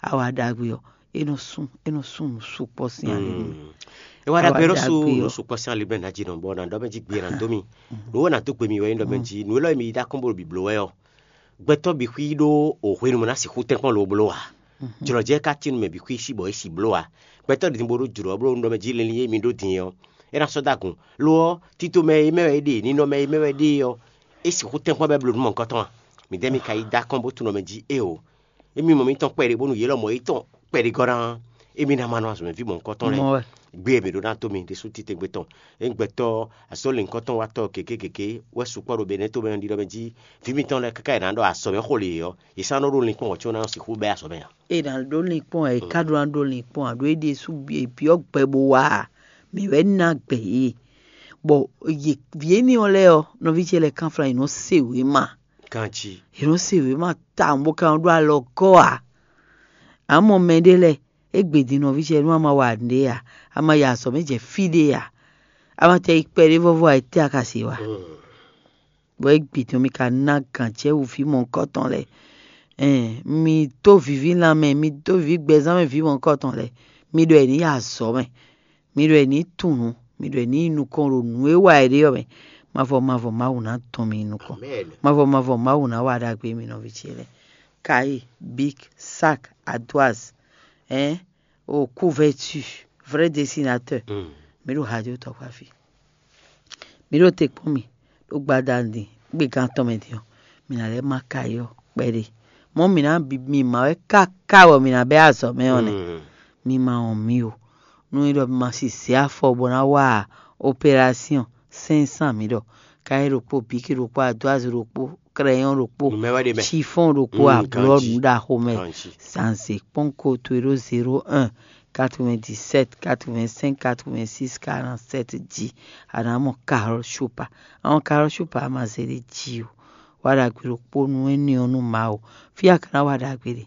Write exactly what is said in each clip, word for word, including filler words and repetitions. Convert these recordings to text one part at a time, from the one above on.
awa ɖagbe ɔ́, é nɔ sún é nɔ sún nǔ sukpɔ́ sín ali mɛ. É wá ɖagbe ɖó sú nǔ sukpɔ́ sín ali mɛ ná jí nɔ bɔ ná ɖɔ mɛ jí gbé ná dó mi. Nǔ wó ná dó gbe mi wɛ nyí ɖɔ mɛ jí nǔ élɔ́ e mi yi dó akɔ́nbó ɖo bǐbló wɛ ɔ́, gbɛtɔ́ bǐ xwí ɖó o hwenu mɔ ná sixú tɛ́nkpɔ́n lo bló ǎ. Jlɔ̌ jɛ ka tín nú mɛ bǐ xwí sí bɔ é si bló ǎ. Gbɛtɔ́ ɖě bo ɖó jlɔ̌ bló nú ɖɔ mɛ jí linlin e mi ɖó din ɔ́, é ná sɔ́ dó agun. Lo ɔ́, tito mɛ e mɛ wɛ é ɖe, ninɔ mɛ e mɛ wɛ é ɖe ɔ́, é sixú tɛ́nkpɔ́n bɔ é bló nǔ mɔ̌hunkɔtɔn a? Midɛɛ mi ka yi dó akɔ́nbó tunɔ mɛ jí éeǒ. Émí mɔ mitɔn kpɛɖé bónú yě lɔmɔ̌ yětɔn kpɛɖé gɔ́ ná, émí ná ma nɔ azɔ̌mɛví mɔ̌hunkɔtɔn lɛ́ɛ. Mɔ wɛ. Gbé e mǐ ɖó ná tó mi ɖésú títɛngbé tɔn. Ényí gbɛtɔ́ azɔ̌linkɔtɔn wá tɔ́ gěgé gěgé wɛ sukpɔ́ ɖo Benɛ́ tomɛ ɔ́ ɖiɖɔ mɛ jí vǐ mitɔn lɛ́ɛ káká è nǎ ɖɔ azɔ̌mɛ xo lě ɔ́, yě sɔ́ nɔ ɖó linkpɔ́n wɔ̌ có ná nɔ sixú bɛ́ azɔ̌ mɛ ǎ. É ná ɖó linkpɔ́n ɛ, é ká ɖó ná ɖó linkpɔ́n ǎ, ɖó é ɖésú byɔ́ gbɛ bó wá ǎ. Mǐ wɛ ná gbɛ yě. Bɔ yě vǐ énɛ́ ɔ́ lɛ́ɛ ɔ́, nɔví ce lɛ́ɛ kánflán yě nɔ se wěma. Ganjí. Yě nɔ se wěma tawun bó ka nɔ ɖó alɔ gɔ́ ǎ. Amɔ mɛɖé lɛ́ɛ, égbé din nɔví ce nú a ma wa nǔɖé ǎ, a ma yi azɔ̌ mɛ jɛ fí ɖé ǎ, a ma tɛ yi kpɛɖé vɔ́vɔ́ ǎ, étɛ́ a ka se wa? Bɔ égbé din mi ka ná gǎn cɛ wú vǐ mɔ̌hunkɔtɔn lɛ́ɛ. Ɛn, mi dó viví lanmɛ, mi dó viví gbɛzán mɛ vǐ mɔ̌hunkɔtɔn lɛ́ɛ, mi ɖɔ è nǐ yi azɔ̌ mɛ, mi ɖɔ è nǐ tunwun nǔ, mi ɖɔ è nǐ yi nukɔn ɖo nǔ e wa è ɖe ɔ́ mɛ. Mavɔ mavɔ Mawu ná tɔn mi nukɔn. Mavɔ mavɔ Mawu ná wa ɖagbe mi nɔví ce lɛ́ɛ. Cahier, bic, sac, ardoise, hein, au couverture, vrai dessinateur. Mi ɖo radio tɔkpa fí. Mi ɖo te kpɔ́n mi ɖo gbadanu din gbegán tɔn mɛ din ɔ́, mi ná lɛ́ ma cahier ɔ́ kpɛɖé. Mɔ̌ mi ná bi mi ma wɛ káká bɔ mi ná bɛ́ azɔ̌ mɛ ɔ́ nɛ́. Mi ma wɔn mi o. Nú é ɖɔ mi ma si zě afɔ bó ná wa opération, cinq cent mi ɖɔ. Cahier ɖokpó, bic ɖokpó, ardoise ɖokpó, crayon ɖokpó, chiffon ɖokpó, ablɔ nǔ ɖaxo mɛ. Zǎnzě kpɔ́n ko towe ɖó zéro un, quatre-vingt-dix-sept, quatre-vingt-cinq, quatre-vingt-six, quarante-sept jí. A nǎ mɔ Carole Chopard. Àwọn Carole Chopard a ma zé ɖé jí o. Wa ɖagbe ɖokpó nú énɛ́ ɔ́ nú Mawu. Fí a ka ná wa ɖagbe ɖe,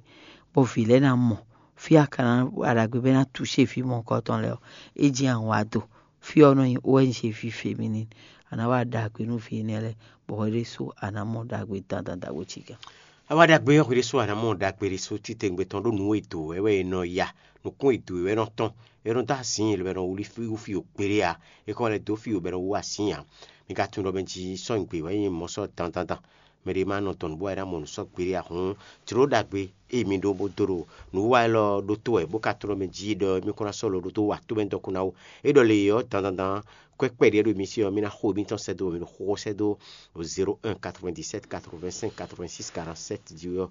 bɔ vǐ lɛ́ɛ ná mɔ. Fí a ka ná wa ɖagbe bɔ é ná touché vǐ mɔ̌hunkɔtɔn lɛ́ɛ ɔ́, é jɛ́n awǎ do. Fí ɔ́ nɔ nyi O N G ví féminin. A nǎ wa ɖagbe nú vǐ énɛ́ lɛ́ɛ, bɔ hwɛ ɖésú a nǎ mɔ ɖagbe dandan ɖagbe cí gán. A wa ɖagbe ɔ́ hwɛ ɖésú a nǎ mɔ ɖagbe ɖésú títɛngbɛ tɔn ɖó nǔ e dǒ wɛ wɛ è nɔ ya, nǔkún e dǒ wɛ nɔ tɔn, è nɔ dó azǐn, è nɔ wlí fí wú fí o kpéɖé ǎ, è kɔ lɛ́ dó fí o bɔ è nɔ wú azǐn ǎ. Mi ka tunwun ɖɔ mɛ jí sɔ́ nyi gbě wɛ nyí mɔ̌ sɔ́ dandandan. Mɛ ɖé ma nɔ dɔn nǔ bɔ é ná mɔ nǔ sɔ́ gbeɖé ǎ hǔn, jlǒ ɖagbe e mi ɖó bó dó ɖo nǔwiwa élɔ́ ɖótó wɛ, bó ka tlɔ́ mɛ jí ɖɔ émí kún ná sɔ́ lo ɖótó wa tó mɛ dɔkun ná ó. É ɖɔ le ɔ́ dandandan, kwɛ́ kpɛɖé ɖo mi sí ɔ́, mi ná xo émítɔn sɛ́ dó, mi nɔ xo sɛ́ dó zéro un quatre-vingt-dix-sept quatre-vingt-cinq quatre-vingt-six quarante-sept jí ɔ́.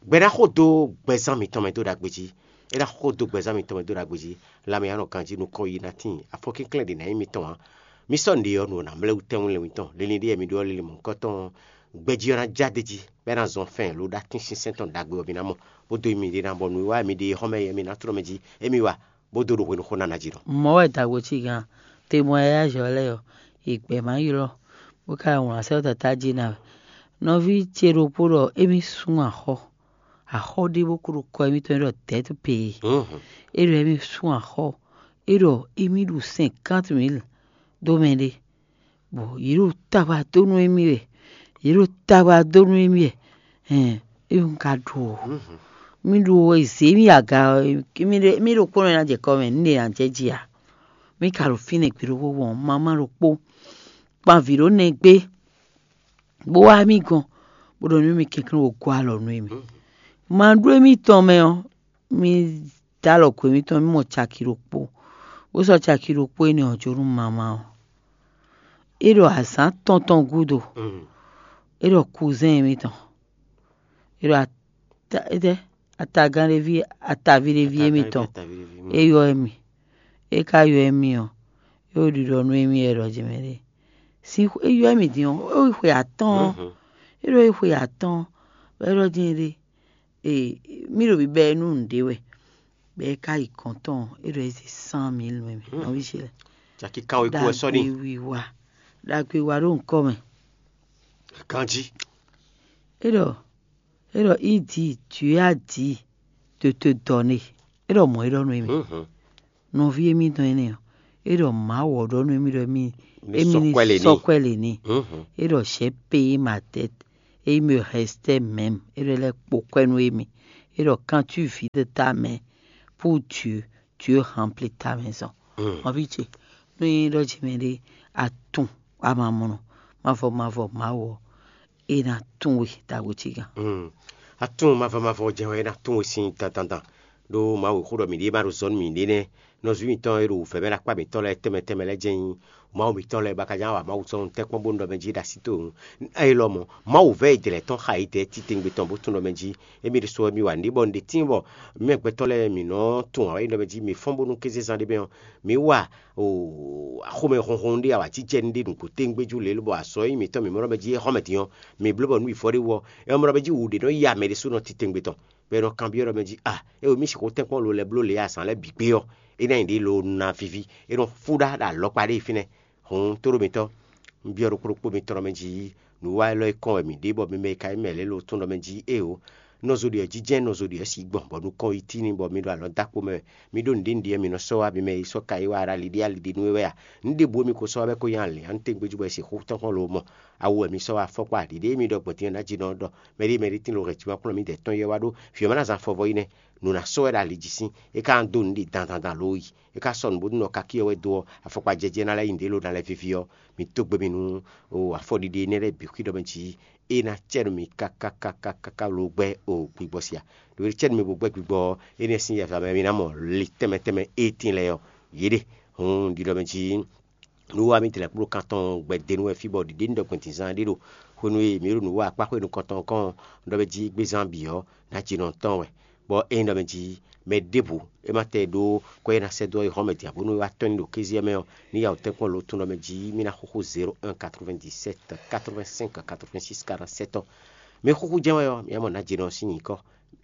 Gbɛ ná xo dó gbɛzán mitɔn mɛ dó ɖagbe jí. É ná xo dó gbɛzán mitɔn mɛ dó ɖagbe jí. Lanmɛ ɔ́ nɔ ganjí nukɔn yi ná tíin, afɔkínklɛ́n ɖě ná nyí mitɔn ǎ. Mi sɔ́ nǔɖé ɔ́, nǔ ɔ́ ná mlɛ́ wú tɛ́nwún lɛ́nwú tɔn, linlin ɖé mi ɖó ɔ́, linlin mɔ̌hunkɔtɔn ɔ́, gbɛjí ɔ́ ná já d'é jí, bɔ é ná zɔn fɛ́n ló ɖó atínsínsɛ́n tɔn ɖagbe ɔ́ mi ná mɔ, bó dó mi ɖe ná bɔ nǔwiwa e mi ɖe xɔ́ mɛ é mi ná tlɔ́ mɛ jí, émí wa, bó dó ɖo hwenu xó ná ná jí nɔ. Mɔ̌ wɛ dǎgbó cí gán, te mɔ yáyá zɔ̌ lɛ́ɛ ɔ́, yě gbɛ́ má ylɔ́, bó ka wlǎn sɛ́ ɔ́ tatá jí ná wɛ. Nɔví ce ɖokpó ɖɔ émí sún axɔ́, axɔ́ ɖé bó kó ɖo kɔ émítɔn e ɖɔ dɛ̌t pee. É ɖɔ émí sún axɔ́, é ɖɔ émí ɖu cinquante mille dó mɛ ɖé. Bɔ yě ɖo tagba dó nú émí wɛ, yě ɖo tagba dó nú émí wɛ. Hɛn, é un ka ɖu o. Mí ɖu o, è zě mì aga ɔ́, mí ɖo mí ɖo kpɔ́n ná jɛ kɔ mɛ, nǔ ɖé ná jɛ jí ǎ. Mí ka ɖo fínɛ́ gbe ɖokpó gbɔn, mamá ɖokpó kpan vǐ ɖó nɛgbé, bó wá mì gɔn, bó ɖɔ nú mì kɛnklɛ́n wǒ gɔ́ alɔ nú émí. Ma ɖó émí tɔn mɛ ɔ́, mí dó alɔ gǒ émítɔn, mí mɔ caki ɖokpó, bó sɔ́ caki ɖokpó énɛ́ ɔ́ jó nú mamá ɔ́. É ɖɔ azǎn tɔn tɔn gúdo, é ɖɔ kuzɛ́n émítɔn, é ɖɔ ata- étɛ́, atagán ɖé ví, ataví ɖé ví émítɔn, é ylɔ́ émí. É ka ylɔ́ émí ɔ́, é ɖo ɖiɖɔ nú émí wɛ ɖɔ jɛ mɛ ɖé. Sín é ylɔ́ émí din ɔ́, é xwe atɔ́ɔ́n, é ɖɔ é xwe atɔ́ɔ́n, bɔ é ɖɔ jɛ́n ɖé. Ee, mí ɖo bibɛ nú nǔɖé wɛ, bɔ é ka yi gɔ̌n tɔn, é ɖɔ é zé cent mille nú émí. Nɔví ce lɛ́ɛ. Caki kan wɛ kú wɛ sɔ́ n'i. Ɖagbe wiwa, ɖagbe wa ɖó ŋkɔ mɛ. Ganjí. É ɖɔ, é ɖɔ, il dit, Dieu a dit de te donner. É ɖɔ mɔ̌ é ɖɔ nú émí. Nɔví émítɔn énɛ́ ɔ́, é ɖɔ Mawu ɔ́ ɖɔ nú émí ɖɔ émí émí ní sɔ́ kwɛ́ lě n'i. É ɖɔ j'ai payé ma dette, et il me restait même. É ɖɔ é lɛ́ kpo kwɛ́ nú émí. É ɖɔ: quand tu vides ta main pour Dieu, Dieu remplit ta maison. Nɔví ce, nú é ɖɔ jǐ mɛ ɖé, atún amamɔnɔ, mavɔ mavɔ Mawu ɔ́, é ná tún we ɖagbo ce gán. Atún mavɔ mavɔ jɛ́n wɛ é ná tún we sín dandandan. Ɖó Mawu xó ɖɔ mǐ ɖíe ma ɖo zɔ̌ nú mǐɖée nɛ́. Nɔví mǐtɔn e ɖo wǔvɛ́ mɛ ɖo akpá mǐtɔn lɛ́ɛ tɛnmɛ tɛnmɛ lɛ́ɛ jɛ́n nyí Mawu mǐtɔn lɛ́ɛ ba ka ján wa Mawu sɔ́ nǔ tɛ́nkpɔ́n bónú ɖɔ mɛ jí ɖo así towe. Ée lɔ mɔ̌, Mawu vɛ́ e jlɛ̌ tɔn xa yi dɛ̌ titewungbe tɔn bó tunwun ɖɔ mɛ jí émí ɖésú wɛ mì wa nǔɖé bɔ un ɖe tíin bɔ mɛ gbɛtɔ́ lɛ́ɛ mǐ nɔ tunwun ǎ wɛ nyí ɖɔ mɛ jí mǐ fɔ́n bónú kézezán ɖé mɛ ɔ́, mǐ wa axomɛ honhon ɖé awǎjijɛ ɖé nǔgbó tɛ́ngbéjú lě lobɔ azɔ̌ e nyí mǐtɔn mǐ mɔ ɖɔ mɛ jí é xɔ mɛ din ɔ́, mǐ bló bɔ nǔ wǐvɔ́ ɖé wú ɔ́, é nɔ mɔ ɖɔ mɛ jí wǔ ɖé nɔ titewungbe tɔn, bɔ è nɔ kanbyɔ́ ɖɔ mɛ jí a é mǐ sixú tɛ́nkpɔ́n lo lɛ́ bló lě azǎn lɛ́ɛ bǐ gbé ɔ́, é ná nyí ɖě lo ná víví, é nɔ fú ɖá ɖo alɔkpa ɖé fínɛ́. Hǔn tóɖó mitɔ́, un byɔ́ ɖokpó ɖokpó mitɔn ɖɔ mɛ jí nǔwiwa élɔ́ e kɔn wɛ mǐ ɖe bɔ mi mɛ e ka nyí mɛ lɛ́ɛ lo tunwun ɖɔ mɛ jí éeǒ, nɔzo ɖě ɔ́ jínjɛ́n nɔzo ɖě ɔ́ sí gbɔn bɔ nukɔn yi tíin bɔ mi ɖo alɔ dó akpo mɛ wɛ. Mi ɖó nǔɖé nǔɖé mǐ nɔ sɔ́ wá mi mɛ e sɔ́ ka yi wá ɖo ali ɖé ali ɖé nú we wɛ a? Nǔ ɖěbǔ e mi ko sɔ́ wá bɔ é ko nyí alě ǎ, nú tɛ́ngbéjú bɔ è sixú tɔ́n kpɔ́n lo mɔ. Awu wɛ mi sɔ́ wá afɔkpa ɖiɖe e mi ɖɔ gbɔn din ɔ́ ná jí nɔ ɖɔ mɛɖé mɛɖé tín lo hɛn jimankplɔ́n mi dɛ̌ tɔn yi wɛ wá ɖó vǐ ɔ́ ma ná zán fɔvɔ yi nɛ́. Nǔ ná sɔ́ wɛ ɖo ali jí sín, é ka ná dó nǔɖé dandan dan lǒ yi. É ka sɔ́ nǔ bónú nɔ kakí ɔ́ wɛ dó ɔ́, afɔkpa jɛjɛ ná lɛ́ nyi nǔɖé lo ná lɛ́ víví ɔ́, mi dó gbe mi nú afɔɖiɖi énɛ́ lɛ́ɛ bǐ xwí ɖɔ mɛ jí é ná cɛ nú mi káká káká káká lo gbɛ́ o gbigbɔ sia. Ɖo é cɛ nú mi bó gbɛ́ gbigbɔ ɔ́, énɛ́ sín yɛ̌fa mɛ mi ná mɔ li tɛnmɛ tɛnmɛ e tíin lɛ́ɛ ɔ́, yě ɖe. Hǔn un ɖi ɖɔ mɛ jí nú wá mi tlɛ kpló kan tɔn gbɛdenu wɛ fí bɔ ɖiɖe ní ɖɔ gbɛn dǐnzán ɖé ɖo hwenu e mǐ ɖo nǔ wa akpá xwé nukɔntɔn kɔn ɖɔ mɛ jí gbézán bǐ ɔ́, ná jí nɔ tɔn wɛ. Bɔ é nyí ɖɔ mɛ jí mɛ ɖěbǔ é ma tɛ ɖó kɔ e ná sɛ́ dó ɔ́ yi hɔn mɛ din ǎ bónú é wá tɔ́n nyi ɖo kéze ɔ́ mɛ ɔ́, ní ya wǒ tɛ́nkpɔ́n lo tun ɖɔ mɛ jí mì ná xúxú zéro un quatre-vingt-dix-sept quatre-vingt-cinq quatre-vingt-six quarante-sept ɔ́. Mi xúxú jɛ́n wɛ ɔ́, mi ná mɔ nǎ jí nɔ sín nyǐkɔ.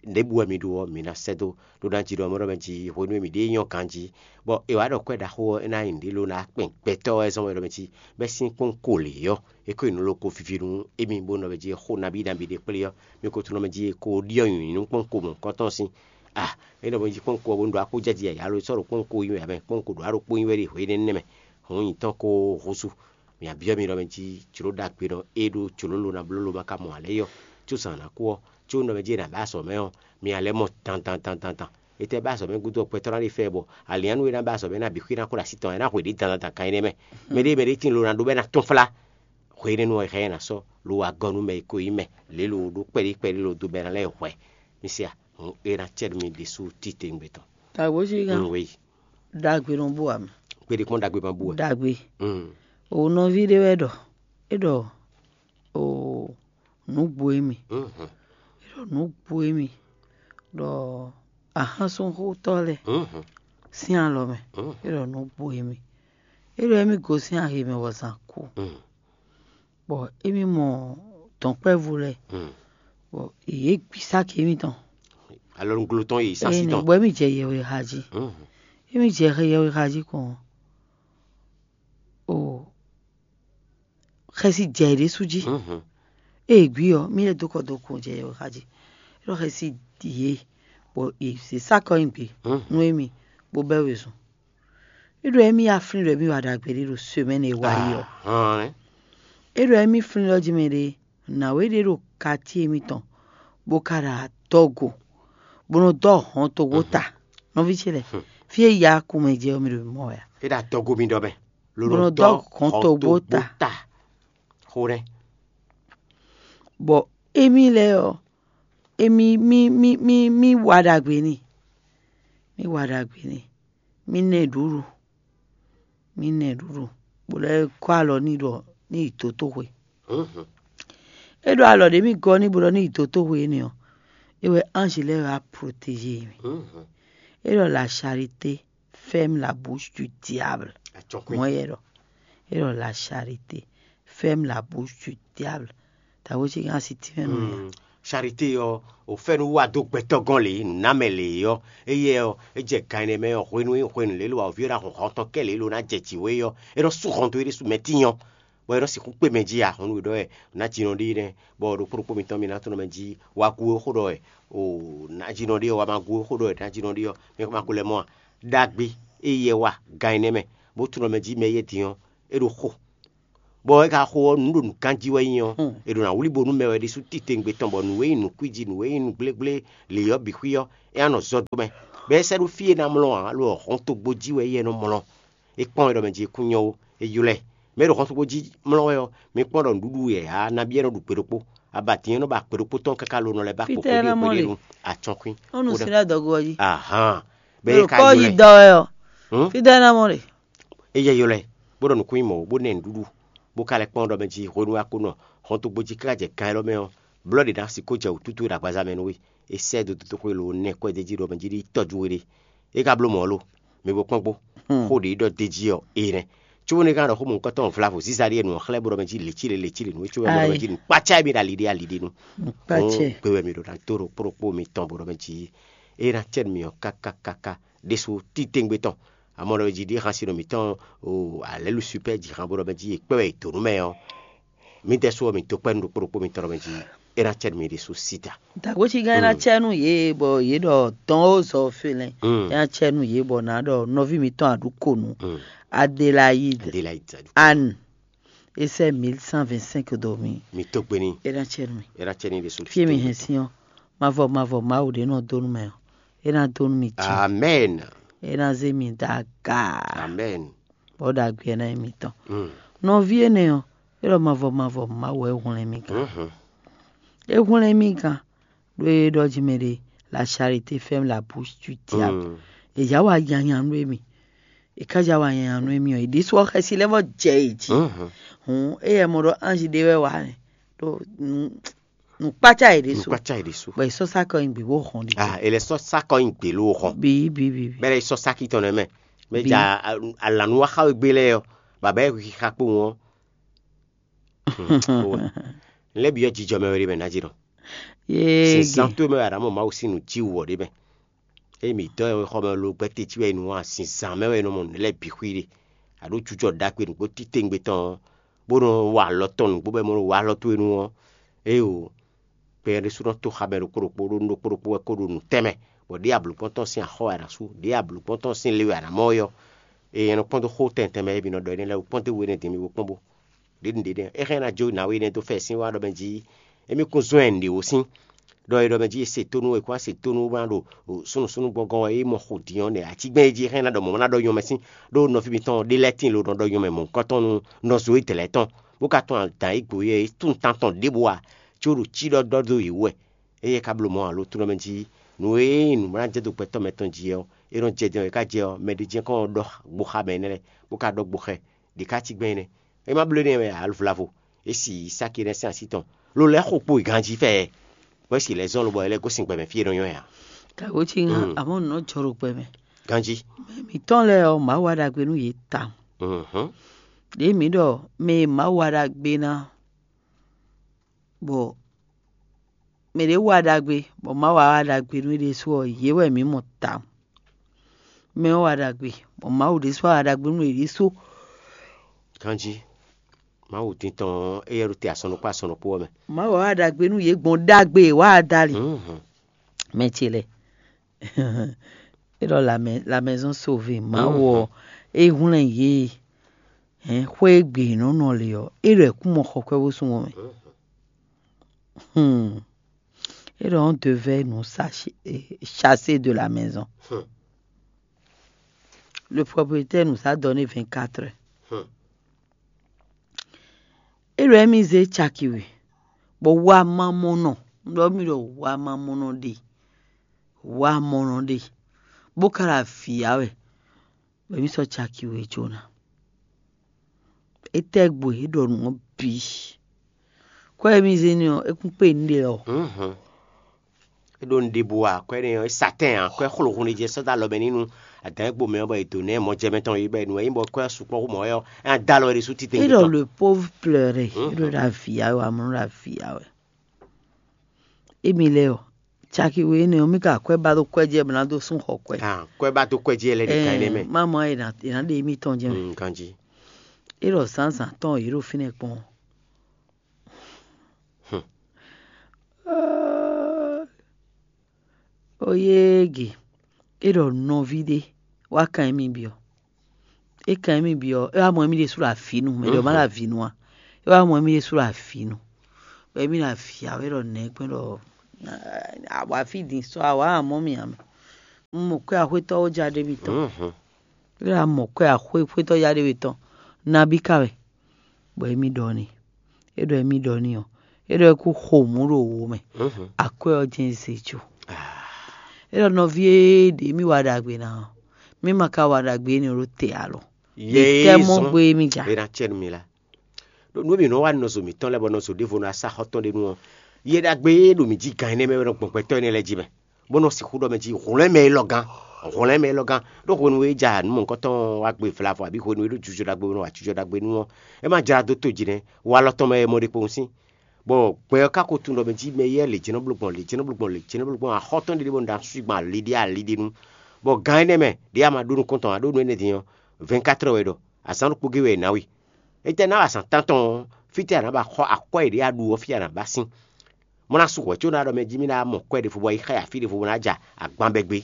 Nɛ̌ bú wɛ mi ɖó ɔ́, mi ná sɛ́ dó, ɖó ná jí ɖɔ mɔ̌ ɖɔ mɛ jí hwenu e mǐ ɖe nyɔ́ ganjí, bɔ è wǎ ɖɔ kwɛ́ ɖaxó ɔ́ é ná nyí nǔɖé lo ná kpɛn gbɛtɔ́ wɛ zɔ́n wɛ ɖɔ mɛ jí bɛ́ sín kpɔ́nko lě ɔ́, é ko nyí nǔ loko vivi nú émí bó nɔ mɛ jí xó nabí nabí ɖé kplé ɔ́, mi ko tunɔ mɛ jí è ko ɖyɔ́ nyǐnyí nú kpɔ́nko mɔ̌hunkɔtɔn sín. A é nɔ mɛ jí kpɔ́nko ɔ́ bó ɖo akó jɛ́ jí yǎyá lo sɔ́ ɖo kpɔ́nko yi mɛ ǎ mɛ, kpɔ́nko ɖo aɖókpó nyi wɛ ɖe hwenu énɛ́ mɛ, hǔn nyǐtɔn ko húzú. Mǐ byɔ́ mi ɖɔ mɛ jí jlǒ ɖagbe nɔ é ɖó jlǒ lo ná bló lo ma ka mɔ ǎ lɛ́ɛ yi ɔ́, có zǎn ná kú ɔ́, có nɔ mɛ jí è nǎ bɛ́ azɔ̌ mɛ ɔ́, mi ná lɛ́ mɔ dandan dandan dan. Etɛ́ bɛ́ azɔ̌ mɛ gúdo ɔ́, gbɛtɔ́ ná ɖe fɛ bɔ alǐnnyánú e ná bɛ́ azɔ̌ mɛ ná bǐ xwí ná kó ɖo así tɔn ɛ ná hwe ɖě dandan dan kan énɛ́ mɛ. Mɛ ɖé mɛ ɖé tíin lo ná ɖó bɔ é ná tɔ́n flá. Hwe énɛ́ nu ɔ́, è hɛn ɛ ná sɔ́ lo wa gɔ́ nú mɛ e ko nyí mɛ lě lo ɖó kpɛɖí kpɛɖí lo dó bɔ é ná lɛ́ hwɛ. Mi se a? Hǔn é ná cɛ nú mi ɖésú titewungbe tɔn. Tagbo cí gán. Un wéyi. Ɖagbe nɔ bú ǎ mɛ. Kpeɖé kpɔ́n ɖagbe ma bú wɛ. Ɖagbe. Mm. O nɔví ɖé wɛ ɖɔ é ɖɔ o nǔgbó émí. Mhm. É ɖɔ nǔgbó émí ɖɔ ahánsunxótɔ́ lɛ́ɛ Mhm. sín alɔ mɛ. Mhm. É ɖɔ nǔgbó émí. É ɖɔ émí gosín ahe mɛ bɔ zǎn kú. Mhm. Bɔ émí mɔ dɔ̌nkpɛvú lɛ́ɛ. Mhm. Bɔ yě gbi sáki émítɔn. Alɔnuglo tɔn yi sasi Énɛ́ tɔn. Bɔ émí jɛ yɛhwe xa jí. Mhm. Émí jɛ yɛhwe xa jí kɔn. O xɛsi jɛ yě ɖésú jí. Mhm. Ée gbí ɔ́, mí lɛ́ dó kɔ dó kun jɛ yɛhwe xa jí. É ɖɔ xɛsi yě, bɔ yě zě sáki ɔ́ nyi gbě Mhm. nú émí, bó bɛ́ wezun. É ɖɔ émí yá flín ɖɔ émí wa ɖagbe ɖé ɖo semɛ́ni e wá yi ɔ́. Ahán. É ɖɔ émí flín ɖɔ jí mɛ ɖé nǎwe ɖé ɖo katíe émítɔn, bó ka ɖo adɔgo, bó nɔ dɔ́ hɔn togbó ta. Nɔví ce lɛ́ɛ, fí e ya kumɛ jɛ ɔ́, mi ɖo mɔ wɛ a? É ɖo adɔgo mi ɖɔ mɛ. Ló Bó nɔ nɔ dɔ́ dɔ́ hɔn hɔn togbó togbó ta. ta. Xó nɛ́. Bɔ émí lɛ́ɛ ɔ́, émí mí mí mí mí wa ɖagbe n'i. Mí wa ɖagbe n'i. Mí nɛ ɖuɖu. Mí nɛ ɖuɖu. Bó lɛ́ gɔ́ alɔ n'i ɖɔ ní yi dǒtoxwe. Mhm. É ɖo alɔ ɖě mì gɔ́ n'i bó ɖɔ ní yi dǒtoxwe énɛ́ ɔ́, é wɛ anji lɛ́ɛ wá protéger mì. Mhm. É ɖɔ la charité ferme la bouche du diable. Atsɔkpin. Mɔ̌ yɛ ɖɔ. É ɖɔ la charité ferme la bouche du diable. Tawé cí gán si tínmɛ nɔ ya. Mm. Charité ɔ́, ò fɛ́nú wá dó gbɛtɔ́ gɔ́n lě, nǔnámɛ lě ɔ́, éyɛ́ ɔ́, é jɛ gan ɛnɛ mɛ ɔ́, hwenu e hwenu lě lo awǒvi ɔ́ ná hun hɔn tɔn kɛ́ lě lo ná jɛ jǐ wé ɔ́, é nɔ sú hɔn dó é ɖésú mɛ tínyɔ, bɔ é nɔ sixú kpé mɛ jí ǎ. Hɔn nú we ɖɔ wɛ nǎjínɔ ɖé nɛ́, bɔ ɖokpó ɖokpó mitɔn mi ná tunɔ mɛ jí wá gú é xó ɖɔ wɛ, o nǎjínɔ ɖé ɔ́, wá ma gú é xó ɖɔ wɛ nǎjínɔ ɖé ɔ́, mi ma ko lɛ́ mɔ a? Ɖagbe éyɛ́ wá gan ɛnɛ mɛ, bó tunɔ mɛ jí mɛ éyɛ́ din ɔ́, é ɖo xo. Bɔ é ka xo ɔ́, nǔ ɖo nǔ ganjí wɛ nyí ɔ́, è ɖo ná wlí bo nú mɛ wɛ ɖésú titewungbe tɔn, bɔ nǔ e nyí nǔkwíji, nǔ e nyí nǔgblégbléli ɔ́ bǐ xwí ɔ́, é ná nɔ zɔ dó mɛ. Bɔ é sɛ́ ɖó fí e ná mlɔ́ ǎ, lo ɔ́, hɔntogbó jí wɛ éyɛ́ nɔ mlɔ́. É kpɔ́n wɛ ɖɔ mɛ jí kún nyɔ́ ó, é ylɔ́ ɛ. Mɛ e ɖo hɔntogbó jí mlɔ́ wɛ ɔ́, mi kpɔ́n ɖɔ nǔɖuɖu yɛ ǎ, nabí é nɔ ɖu gbe ɖokpó. Abatǐn ɔ́ nɔ ba gbe ɖokpó tɔn káká lo nɔ lɛ́ ba kpɔ̌ Fítɛ́ ná mɔ ɖe? Atɔ́nkwín. Ó nu sin ɖó adɔgo ɔ́ jí. Ahán. Bɔ é ka kɔ yi ylɔ́ ɛ. Dɔ wɛ ɔ. Fítɛ́ ná mɔ ɖe? É yɛ ylɔ́ ɛ, bó ɖɔ nǔkún nyí mɔ̌, bó ná ɛ nǔɖuɖu, bó ka lɛ́ kpɔ́n ɖɔ mɛ jí hwenu e a ko nɔ hɔntogbó jí káká jɛ gan élɔ́ mɛ ɔ́, blɔ́ ɖě ná sixú jɛ wǔtútú e ɖo agbaza mɛ nú we. É sɛ́ dó dótóxwé lo nɛ́ kwɛ́ d'é jí ɖɔ mɛ jí ɖí tɔ́jú we ɖe. É ka bló mɔ̌ lo? Mi bo kpɔ́n gbó. Xó ɖě ɖɔ d'é jí ɔ́, é nɛ́. Cóbónú é ka ɖɔ xó mɔ̌hunkɔtɔn vlavo zíza ɖíe nǔ ɔ́ xlɛ́ bó ɖɔ mɛ jí lě cí lě, lě cí lě nú é, cóbɔ é ɖɔ mɛ jí nǔ kpácá émí ɖo ali ɖé ali ɖé nu. Gbé wɛ mi ɖo ná dó ɖo kpó ɖokpó mitɔn bó ɖɔ mɛ jí é ná cɛ nú mi ɔ́ káká káká ɖésú titewungbe tɔn. Amɔ̌ ɖɔ mɛ jí ɖíe hán sin nɔ mǐtɔn o alɛ̌lu supɛ́ jí hán bó ɖɔ mɛ jí è kpɛ́ wɛ è dǒ nú mɛ ɔ́, mǐdɛɛ sú ɔ́, mǐ dó kpɛ́ nú ɖokpó ɖokpó mitɔn ɖɔ mɛ jí é ná cɛ nú mi ɖésú síta. Dǎgbócígán é ná cɛ nú yě, bɔ yě ɖɔ dɔn ó zɔ félɛ́, é ná cɛ nú yě, bɔ nǎ ɖɔ nɔví mitɔn Aɖukonu Adélayide Anne, é sɛ́ mil cent vingt-cinq dó mi. Mi tó gbe n'i. É ná cɛ nú mi. É ná cɛ n'i ɖésú. Fí e mi hɛn sín ɔ́, mavɔ mavɔ Mawu ɖé nɔ dó nú mɛ ɔ́, é ná dó nú mi jí. Amɛn. É ná zé mi dó aga. Amɛn. Bɔ ɖagbe ná nyí mitɔn. Mm. Nɔví énɛ́ ɔ́, é ɖɔ mavɔ mavɔ Mawu wɛ é hwlɛ́n mì gán. Mhm. É hwlɛ́n mì gán, ɖó é ɖɔ jí mɛ ɖé: la charité ferme la bouche du diable. Mm. È yǎ wa nyanya nú émí. È ká yǎ wa nyanya nú émí ɔ́, è ɖésú ɔ́ xɛsi lɛ́ vɔ jɛ è jí. Mhm. Hǔn éyɛ́ mɔ ɖɔ anji ɖé wɛ wá nɛ́. Ɖó nǔ nǔkpácá yě ɖésú. Nukpatsa yi ɖésú. Bɔ è sɔ́ sá kɔ nyi gbě bó hɔn ɖi. Ah, ele sɔ sakɔ nyi gbě ló hɔn. Bi bi bi bi. Bɛlɛ sɔ saki tɔn nɛ mɛ. Mɛ Bi. Ja alanu wa xa gbe lɛ yɔ. Baba yɛ xixa kpo wọn. Lɛ bi yɔ jijɔ mɛ wɛ de mɛ na ji nɔ. Yee. Sinsan to mɛ wɛ adamu mawu sinu ji wɔ de mɛ. Emi dɔ yɛ xɔ mɛ lo gbɛte ci wɛ nu wa sinsan mɛ wɛ nɔ mɔ nɛ lɛ bi xwi de. Ado jujɔ ɖagbe nugbo titengbe tɔn. Bó nɔ wa alɔ tɔn nugbo bɛ mɔ wa alɔ to nu ɔ. Eyo. Kpɛnyɛ ɖésú nɔ tó xa mɛ ɖokpó ɖokpó ɖó nú ɖokpó ɖokpó wɛ kó ɖo nǔ tɛnmɛ, bɔ ɖěe ablǔkpɔ́ntɔ́ sín axɔ́ wɛ a nǎ sú, ɖěe ablǔkpɔ́ntɔ́ sín le wɛ a nǎ mɔ ɔ́, eye nyɛ nɔ kpɔ́n dó xó tɛntɛn mɛ e mi nɔ ɖɔ énɛ́ lɛ́ɛ wú kpɔ́n dó we énɛ́ din mi bo kpɔ́n bó. Ɖě ɖě ɖě é xɛ́n ná jó nǎwe énɛ́ dó fɛ sín wá ɖɔ mɛ jí émí kún zɔ́n ɛ nǔɖé wǒ sín, ɖɔ é ɖɔ mɛ jí è se tónú è kún wá se tónú bó ná ɖo súnnu súnnu gbɔngɔn wɛ é mɔ xo din ɔ́ nɛ́ atígbɛ́n é jí é xɛ́n ná ɖɔ mɔ̌ ná ɖɔ nyɔmɛ sín, ɖó nɔví mitɔn ɖé lɛ́ɛ tíin lo nɔ ɖɔ nyɔmɛ mɔ̌hunkɔtɔn nú nɔ zo é dɛ̌ lɛ́ɛ tɔn, bó ka tún adǎn é gbo yɛ é tún tantɔn ɖěbǔ ǎ, có ɖo cí ɖɔ ɖɔ dó yě wú wɛ. Éyɛ́ ka bló mɔ̌ alo tlɔ́ mɛ jí nǔ e nyí nǔ ná jɛ dó gbɛtɔ́ mɛ tɔn jí ɔ́, é nɔ jɛ din ɔ́, é ka jɛ ɔ́, mɛ ɖé jɛ́n kɔn ɔ́ ɖɔ gboxa mɛ énɛ́ lɛ́ɛ, bó ka ɖɔ gboxɛ ɖě ká cí gbɛn énɛ́. É má bló énɛ́ wɛ ǎ, alvlavo, é si Isáki énɛ́ sín así tɔn, lo lɛ́ xo kpo ganjí fɛ ɛ, bɔ é si lɛ́ zɔ́n lobɔ é lɛ́ gosín gbɛ mɛ fí e é nɔ nyɔ́ ɛ ǎ. Gǎgó cí ŋa, àmọ́ nǔ nɔ jɔ ɖo gbɛ mɛ. Ganjí. Mɛ mǐtɔn lɛ́ɛ ɔ́, Mawu wa ɖagbe nú yě tawun. Mhm. Ɖěe mǐ ɖɔ mɛ e Mawu wa ɖagbe ná, bɔ mɛ ɖě wa ɖagbe, bɔ Mawu wa ɖagbe nú é ɖésú ɔ́, yě wɛ mǐ mɔ tawun. Mɛ ɔ́ wa ɖagbe, bɔ Mawu ɖésú wa ɖagbe nú yě ɖésú. Ganjí. Mawu din tɔn ɔ́, éyɛ́ ɖo te asɔn ɖokpó asɔn ɖokpó ɔ́ mɛ. Mawu wa ɖagbe nú yě gbɔn ɖagbe e wa dali. Mhm. Mɛ ce lɛ. É ɖɔ la mɛ-, la maison sauvée, Mawu ɔ́, é hwlɛ́n yě. Hɛn xwé e gbe yě nɔ nɔ le ɔ́, é ɖɔ è kún mɔ xɔ kwɛ́ bó sú wɔn mɛ. Hmm. É ɖɔ on devait nous sache-, eh, chasser de la maison. Hmm. Le propriétaire nous a donné vingt-quatre heures. Hmm. É ɖɔ émí zé caki we, bɔ wamamɔnɔ, un ɖɔ mì ɖɔ wamamɔnɔ ɖe, wamɔnɔ ɖe, bó ka ɖo avǐ ya wɛ, bɔ émí sɔ́ caki we jó ná. Étɛ́ gbo é ɖɔ nǔ ɔ́ bǐ? Kwɛ́ e mì zé n'i ɔ́, é kún kpé nǔɖé lɔ. Mhm. É ɖo nǔɖé bú a, kwɛ́ nɛ ɔ́, é sa tɛ́n ǎ, kwɛ́ xlo hun ɖé jɛ sɔ́ dó alɔ mɛ n'i nú adǎn e gbo mɛ ɔ́, bɔ è dǒ nɛ mɔjɛmɛ tɔn yí bɔ è nǔ wɛ nyí bɔ kwɛ́ sukpɔ́ xú mɔ̌ wɛ ɔ́, é ná dó alɔ ɖé sú titewungbe tɔn. É ɖɔ le pauvre pleurer, é ɖo ɖo avǐ ya wɛ, amlɔ ɖo avǐ ya wɛ. Émi lɛ́ɛ ɔ́, caki we énɛ́ ɔ́, mì ka kwɛ́ ba dó kwɛ́ jɛ bɔ ná dó sún xɔ kwɛ́. Ah, kwɛ́ ba dó kwɛ́ jɛ lɛ ɖe kan énɛ́ mɛ. Má mɔ é ná, é ná ɖe émítɔn jɛ mɛ. Mm, ganjí. É ɖɔ zǎnzǎn tɔn yě ɖo fínɛ́ kpɔ́n. Hmm. Oyége, é ɖɔ nɔví ɖé wá kan émí byɔ́. É kan émí byɔ́, é wá mɔ émí ɖésú ɖo avǐ nu, mɛ ɖě ɔ́ má ɖo avǐ nu ǎ. É wá mɔ émí ɖésú ɖo avǐ nu, bɔ émí ɖo avǐ ǎ wɛ ɖɔ nɛ̌ gbɛ́n ɖɔ awǎ fí din sɔ́ awǎ amɔ̌ mì ǎ mɛ. Un mɔ kwɛ́ axwétɔ́ ó ja ɖé mitɔn. É ɖo amɔ kwɛ́ axwé xwétɔ́ ya ɖé we tɔn nabí ka wɛ, bɔ émí ɖɔ n'i. É ɖɔ émí ɖɔ n'i ɔ́, é ɖɔ é kú xo mǔ ɖo wo mɛ. Akwɛ́ ɔ́ jɛ́n zé jó. É ɖɔ nɔví e ɖě mì wa ɖagbe ná ɔ́, mì ma ka wa ɖagbe énɛ́ ɖó te alɔ. Ɖe tɛ́ mɔ gbe mì ja. È nǎ cɛ nú mi lá. Ɖó nú mǐ nɔ wa nɔzo mǐtɔn lɛ́ɛ bɔ nɔzo ɖěvo nɔ asá xɔ́tɔn ɖé nu ɔ́, yɛ ɖagbe e ɖo mǐ jí gan énɛ́ mɛ wɛ nɔ gbɔn gbɛtɔ́ énɛ́ lɛ́ɛ jí mɛ, bó nɔ sixú ɖɔ mɛ jí hwlɛ́n mɛ élɔ́ gán, hwlɛ́n mɛ élɔ́ gán. Ɖó hwenu e ja nǔ mɔ̌hunkɔtɔn wá gbe vlavo abǐ hwenu e ɖó jijɔ ɖagbe nɔ wa jijɔ ɖagbe nu ɔ́, é ma jlá dó to jí nɛ́, walɔ tɔn mɛ wɛ mɔ ɖe kpowun sín. Bɔ gbɛ ɔ́ ka ko tunwun ɖɔ mɛ jí mɛ éyɛ́ lě jɛ́n nɔ bló gbɔn, lě jɛ́n nɔ bló gbɔn, lě jɛ́n nɔ bló gbɔn axɔ́ tɔn ɖé ɖé bɔ un ɖo asú gban ali ɖé ali ɖé nu. Bɔ gan énɛ́ mɛ ɖě a ma ɖó nukɔn tɔn ǎ, ɖó nú énɛ́ din ɔ́, vɛ̌nkátrɔ wɛ ɖɔ, azǎn ɖokpó gé wɛ è nǎ we. Étɛ́ ná wa azǎn tántɔn ɔ́, fítɛ́ a nǎ ba xɔ akwɛ́ e ɖě a ɖu ɔ́ fí a nǎ ba sín? Mɔ̌ ná sú hwɛ̌ có ná ɖɔ mɛ jí mì ná mɔ kwɛ́ ɖěvo bɔ yi xá ya fí ɖěvo bó ná ja agban bɛgbé.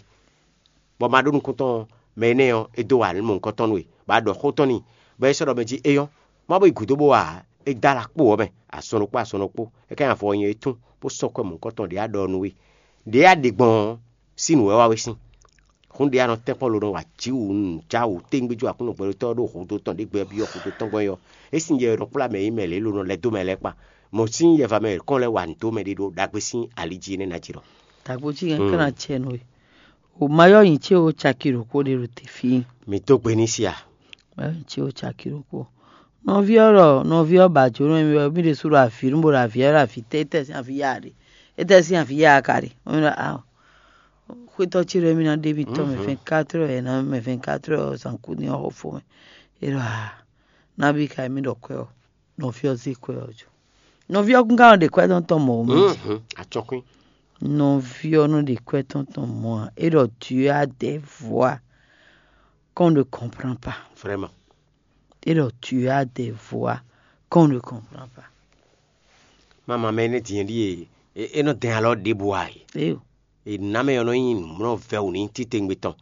Bɔ ma ɖó nukúntɔn ɔ́, mɛ énɛ́ ɔ́, é dó wa nǔ mɔ̌hunkɔtɔn nú we, bɔ a ɖɔ xó tɔn n'i, bɔ é sɔ́ ɖɔ mɛ jí é nyɔ́, má bó yi gǔdo bó wa ǎ. É dó alɔ kpó wɔ̌ mɛ, azɔn ɖokpó azɔn ɖokpó, é ka nyi avɔ nyɛ é tún, bó sɔ́ kwɛ́ mɔ̌hunkɔtɔn ɖě a ɖɔ nú we. Ɖě a ɖe gbɔn ɔ́, sín nǔ wɛ wá we sín. Hún ɖě a nɔ tɛ́nkpɔ́n lo nɔ wa jǐ wǔ nǔ já wǔ téŋgbéjú Aklúnɔ gbɛɖótɔ́ ɔ́ ɖó hǔdo tɔn ɖě gbɛ byɔ́ hǔdo tɔn gbɔn é ɔ́, é sín yɛ e nɔ kplá mɛ e nyí mɛ lě lo nɔ lɛ́ dó mɛ lɛ́ɛ kpa. Mɔ̌ sín yɛva mɛ yětɔn lɛ́ɛ wa nǔ dó mɛ ɖé ɖo ɖagbe sín ali jí énɛ́ ná jí ɖɔ. Dǎgbó cí hɛn ká ná cɛ nú we. O ma yɔ nyi ce o caki ɖokpó ɖe ɖo te fí. Mi dó gbe ní sia. Ma yɔ nyi ce o caki ɖokpó. Nɔví ɔ́ ɖɔ nɔví ɔ́ ba jǒnɔ mi wɛ mí ɖésú ɖo avǐ nú bó ɖo avǐ ɔ́ ɖo avǐ tɛ́ étɛ́ sín avǐ ya ɖe. Étɛ́ sín avǐ ya ka ɖe. Wọ́n mi ɖɔ a xwétɔ́ ce ɖɔ émí ná ɖe mì tɔn mɛ fɛn quatre heures ɛ ná mɛ fɛn quatre heures ɔ́ zǎn kú ní ɔ́ xɔ fó mɛ. É ɖɔ a nabí ka émí ɖɔ kwɛ́ ɔ́, nɔví ɔ́ zé kwɛ́ ɔ́ jó. Nɔví ɔ́ kún ka nɔ ɖe kwɛ́ tɔn tɔn mɔ̌ mɛ. Acɔkwín. Nɔví ɔ́ nɔ ɖe kwɛ́ tɔn tɔn mɔ̌ ǎ. É ɖɔ Dieu a des voix qu'on ne comprend pas. Vraiment. É ɖɔ Dieu a des voix qu'on ne comprend pas. Mama mɛ énɛ́ din ɖíe é nɔ dɛn alɔ ɖěbǔ ǎ é. Éyo. È nǎ mɛ ɔ́ nɔ nyí nǔmlɔ́ vɛ́wǔ n'i titewungbe tɔn,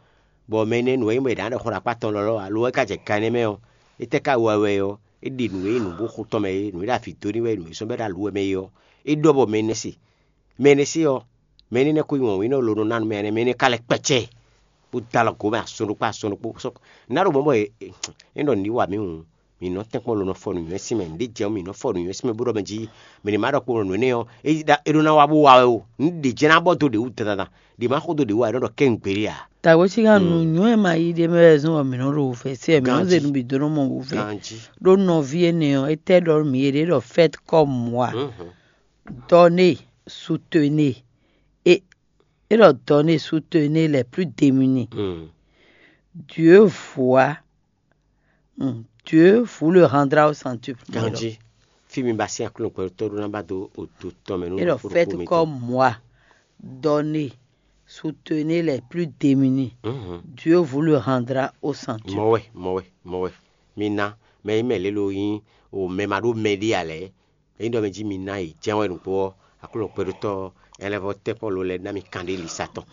bɔ mɛ énɛ́ nǔ e nyí bɔ è nǎ ɖɔ xó ɖo akpá tɔn lɔlɔ́ alo é ka jɛ gan énɛ́ mɛ ɔ́, étɛ́ ka wa wɛ ɔ́? É ɖe nǔ e nyí nǔ bó xo tɔn mɛ é, nǔ e ɖo avǐ dó n'i wɛ, nǔ e sɔ́ bɔ é ɖo alu wɛ mɛ é ɔ́, é ɖɔ bɔ mɛ énɛ́ se. Mɛ énɛ́ se ɔ́, mɛ énɛ́ nɛ́ ko nyí wɔ̌nwínnɔ loɖo ná nú mɛ énɛ́, mɛ énɛ́ ka lɛ́ kpɛ́cɛ́, bó dó alɔ gǒ mɛ azɔn ɖokpó azɔn ɖokpó. Sɔ́ ná ɖo mɔ̌ bɔ é ɖɔ nǔ ɖi wa mǐ hǔn, mǐ nɔ tɛ́nkpɔ́n lo nɔ fɔ nǔnywɛ́ sín mɛ. Nǔ ɖé jɛ ɔ́, mǐ nɔ fɔ nǔnywɛ́ sín mɛ bó ɖɔ mɛ jí mɛ ní ma ɖɔ kpó nǔ énɛ́ ɔ́, é ɖó ná wá bó wa wɛ o. Nǔ ɖě jɛ́n ná bɔ dó ɖě wú dandan, ɖě ma xo dó ɖě wú ǎ, é nɔ ɖɔ kɛ́n gbeɖé ǎ. Tàwé cí ká nu nyɔ̌ e ma yí ɖé mɛ wɛ zɔ́n bɔ mǐ nɔ ɖo wǔvɛ́ sí wɛ mǐ nɔ zé nǔ bǐ dó nɔ mɔ wǔvɛ́. Ɖó nɔví énɛ́ ɔ́, étɛ́ ɖɔ mǐ é ɖé ɖɔ fɛ́t kɔ́ mɔ̌ ǎ? Dɔnée, soutenez. É é ɖɔ dɔnée, soutenez les plus démunis. Dieu voit. Dieu vous le rendra au centuple. Ganji, fí mi ba sín aklúnɔ gbɛtɔ́ ɖó ná ba dó odo tɔn mɛ nú é ɖɔ fɛ́t kɔ́ mɔ̌ ǎ. Dɔnée, soutenez les plus démunis. Dieu vous le rendra au centuple. Mɔwɛ mɔwɛ mɔwɛ. Mi ná mɛ yi mɛ lélo yín o mɛ ma ɖó mɛ ɖé ǎ lɛ́ɛ. Ényí ɖɔ mɛ jí mi ná yi jɛ́n wɛ nǔgbó ɔ́, Aklúnɔ gbɛɖótɔ́ ɔ́, é lɛ́ vɔ́ tɛ́nkpɔ́n lo lɛ́ɛ ná mi kanɖé lisa tɔn.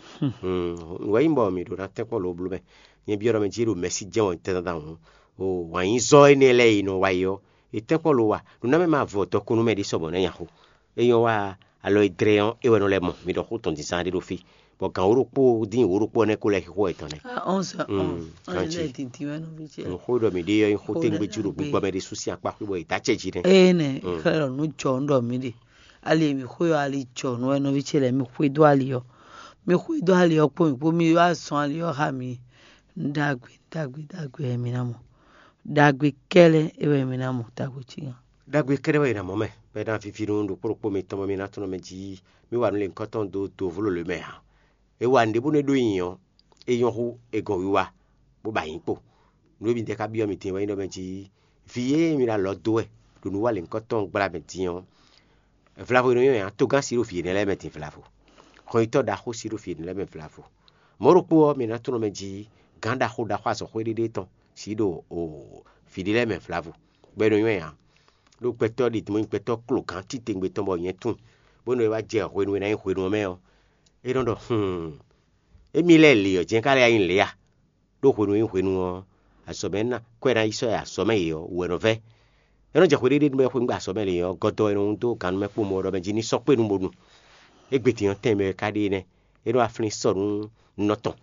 Wɛ̌ nyí bɔ mǐ ɖo ná tɛ́nkpɔ́n lo bló mɛ. Nyɛ byɔ́ ɖɔ mɛ jí é ɖo mɛ̌si jɛ́n wɛ tɛndandan hǔn, o wǎn-yízɔ́ énɛ́ lɛ́ɛ e nɔ wa é ɔ́, è tɛ́nkpɔ́n lo wa, nǔ ná mɛ ma vɔ dɔkun nú mɛ ɖé sɔbɔ nɛ́ nyaxó. É nyɔ́ wa alɔ e dlɛ́ ɔ́, é wɛ nɔ lɛ́ mɔ. Mi ɖɔ xó tɔn dǐndán ɖé ɖo fí, bɔ gǎn wǒ ɖokpó dín wǒ ɖokpó ɔ́ nɛ́ kó lɛ́ xixo wɛ tɔn nɛ́. Onze heures onze, onze heures dix, ouais, non, vite fait. Xó ɖɔ mǐ ɖe ɔ́ nyí xó téŋgbé jí ɖo gbígbɔ mɛ ɖé sú sín akpá xwé bɔ è dǎ acɛ jí nɛ́. Ée nɛ, xlɛ́ ɖɔ nǔ jɔ un ɖɔ mǐ ɖe. Ali e mǐ xwe ɔ́, ali jɔ nú wɛ nɔví ce lɛ́ɛ, mi xwedó ali ɔ́. Mi xwedó ali ɔ́ kpó mǐ kpó, mi wá zɔn ali ɔ́ xá mǐ. Ɖagbe, ɖagbe, ɖagbe wɛ mi ná mɔ. Ɖagbe kɛ́lɛ́ é wɛ mi ná mɔ, ɖagbe cí nya. Ɖagbe kɛ́ɖɛ́ wɛ è nǎ mɔ mɛ, bɔ é ná víví nú ɖokpó ɖokpó mitɔn bɔ mi ná tunwun mɛ jí mì wa nǔ lěhunkɔtɔn dó do vló lě mɛ ǎ. È wa nǔɖé bónú é ɖó nyi ɔ́, é nyɔ́ hú è gɔn wiwa, bó ba nyǐ kpo. Nǔ e mi dɛ ka byɔ́ mi din wɛ nyí ɖɔ mɛ jí vǐ e mi ɖo alɔ dó wɛ ɖo nǔ wa lěhunkɔtɔn gbla mɛ din ɔ́, vlavo e nɔ nyɔ́ nya togán si ɖo vǐ énɛ́ lɛ́ɛ mɛ din vlavo. Hɔnyitɔ́ ɖaxó si ɖo vǐ énɛ́ lɛ́ɛ mɛ vlavo. Mɔ̌ ɖokpó ɔ́, mi ná tunwun mɛ jí gǎn ɖaxó ɖaxó azɔ̌xwé ɖéɖé tɔn si ɖo vǐ ɖé lɛ́ɛ mɛ vlavo, bɔ é nɔ nyɔ́ nya. Ɖó gbɛtɔ́ ɖi mɔ nyí gbɛtɔ́ klogán titewungbe tɔn bɔ nyɛ tunwun, bónú é wá jɛ hwenu e ná nyí hwenu ɔ́ mɛ ɔ́, é nɔ ɖɔ: Hǔun, émí lɛ́ɛ lě ɔ́ jɛ́n ka lɛ́ nyí lě a? Ɖó hwenu e nyí hwenu ɔ́, azɔ̌ mɛ ná kwɛ́ ná yi sɔ́ yi azɔ̌ mɛ yě ɔ́ wú wɛ nɔ vɛ́. É nɔ jɛ xwe ɖé ɖé nú mɛ xwe nú azɔ̌ mɛ lě ɔ́, gɔdɔ e nɔ dó gannú mɛ kpó mɔ ɖɔ mɛ jí ní sɔ́ kpé nú bónú. Égbé din ɔ́, tɛn mɛ wɛ ka ɖe nɛ́. É nɔ wá flín sɔ nú nɔ tɔn.